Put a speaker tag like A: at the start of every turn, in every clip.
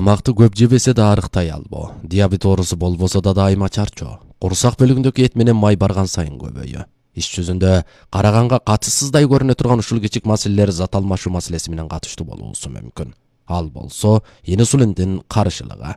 A: Тамакты көп жебесе да арыктай албоо, диабет оорусу болбосо да дайыма чарчоо, курсак бөлүгүндөгү эт менен май барган сайын көбөйүү. Иш жүзүндө караганга катышсыздай көрүнө турган ушул кичик маселелер зат алмашуу маселеси менен катыштуу болуусу мүмкүн. Ал болсо инсулиндин карышылыгы.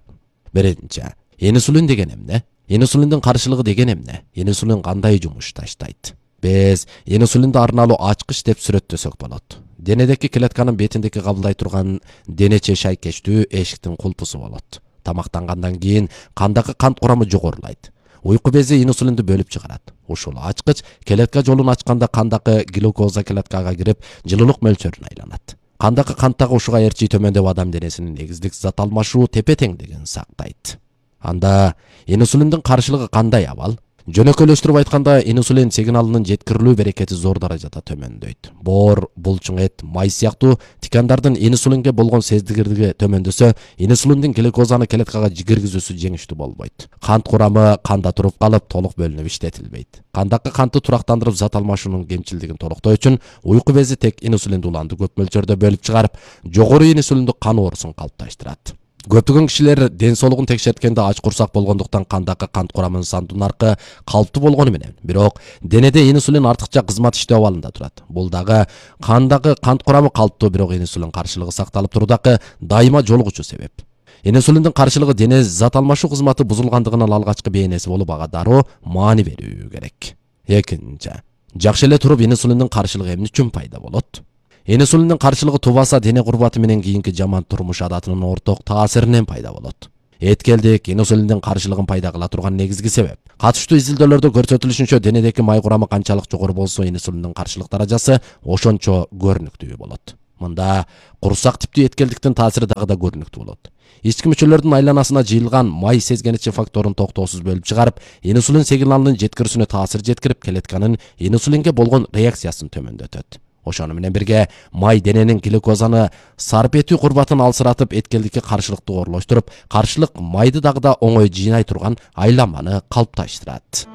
A: Биринчи, инсулин деген эмне? Инсулиндин карышылыгы деген эмне? Инсулин кандай жумуш таштайт? Биз инсулинди арналуу ачкыч деп сүрөттөсөк болот. Денедеки клетканын бетиндеки кабылдай турган денече шайкечтүү эшиктин кулпусу болот. Тамактангандан кийин кандагы кант курамы жогорулайт. Уйку бези инсулинди бөлүп чыгарат. Ушул ачкыч клетка жолун ачканда кандагы глюкоза клеткага кирип, жылуулук мөлчөрүнө айланат. Кандагы канттагы ушуга ээрчи төмөндөп адам денесинин негиздик зат алмашуу тепе-теңдигин сактайт. Анда инсулиндин карышылыгы кандай абал? Жөнөкөйлөштүрүп айтканда, инсулин сигналынын жеткирилүү берекети зор даражада төмөндөйт. Боор, булчуң эт, май сыяктуу тикандардын инсулинге болгон сездигирлиги төмөндөсө, инсулиндин глюкозаны клеткага киргизүүсү жеңиштүү болбойт. Кант курамы канда туруп калып, толук бөлүнүп иштетилбейт. Кандагы кантты турактандырып зат алмашуунун кемчилдигин толуктоо үчүн уйку бези тек инсулинди уланды көп мөлчөрдө бөлүп чыгарып, жогору инсулиндик кан оорусун калыпташтырат. Көптөгөн кишилер ден соолугун текшерткенде ач курсак болгондуктан кандагы кант курамынын сандуу наркы калыптуу болгону менен, бирок денеде инсулин артыкча кызмат иштөө абалында турат. Бул дагы кандагы кант курамы калыптуу, бирок инсулин карышылыгы сакталып туруудагы дайыма жолугучу себеп. Инсулиндин карышылыгы дене зат алмашуу кызматы бузулгандыгынын алгачкы бейнеси болуп, ага дароо маани берүү керек. Экинчи, жакшы эле туруп инсулиндин карышылыгы эмне үчүн пайда болот? Инсулиндин карышылыгы тубаса дене курбаты менен кийинки жаман турмуш адатынын орток таасиринен пайда болот. Эткелдик инсулиндин карышылыгын пайда кыла турган негизги себеп. Катыштуу изилдөөлөрдө көрсөтүлүшүнчө, денедеки май курамы канчалык жогору болсо, инсулиндин карышылык даражасы ошончо көрүнүктүү болот. Мында курсак типтүү эткелдиктин таасири дагы да көрүнүктүү болот. Ички мүчөлөрдүн айланасына жыйылган май сезгеничи факторун токтоосуз бөлүп чыгарып, инсулин сигналынын жеткирүүсүнө таасир жеткирип, клетканын инсулинге болгон реакциясын төмөндөтөт. Ошону менен бирге май дененин глюкозаны сарп этүү курбатын алсыратып, эткелдикке каршылыкты оорлоштуруп, каршылык майды дагы да оңой жыйнай турган айланманы калыпташтырат.